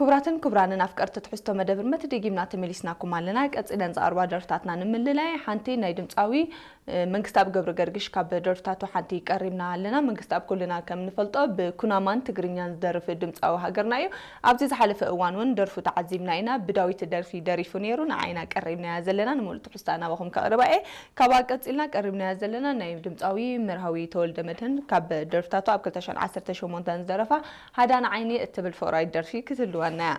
ክቡራትን ክቡራንን ኣፍቀርቲ ትሕዝቶ መደብ ርመት ደጊምና ተመሊስናኩም ኣለና። ቀጺለን ዝቐርባ ደርፍታትና ንምልላይ ሓንቲ ናይ ድምጻዊ መንግስታብ ገብረ ገርግሽ ካብ ደርፍታቱ ሓንቲ ቀሪብና ኣለና። መንግስታብ ኩልና ከም ንፈልጦ ብኩናማን ትግርኛን ዝደርፍ ድምጻዊ ሃገርና እዩ። ኣብዚ ዝሓለፈ እዋን እውን ደርፉ ተዓዚብና ኢና። ብዳዊት ደርፊ ደሪፉ ነይሩ፣ ንዓይና ቀሪብናያ ዘለና። ንሙሉእ ትሕዝታ ናባኹም ከቕርባ እየ። ካብኣ ቀጺልና ቀሪብናያ ዘለና ናይ ድምጻዊ መርሃዊ ተወልደ መድህን ካብ ደርፍታቱ ኣብ ክልተ ሽሕን ዓሰርተ ሸሞንተን ዝደረፋ ሃዳን ዓይኒ እትብል ፍቕራዊት ደርፊ ክትህልወና እያ።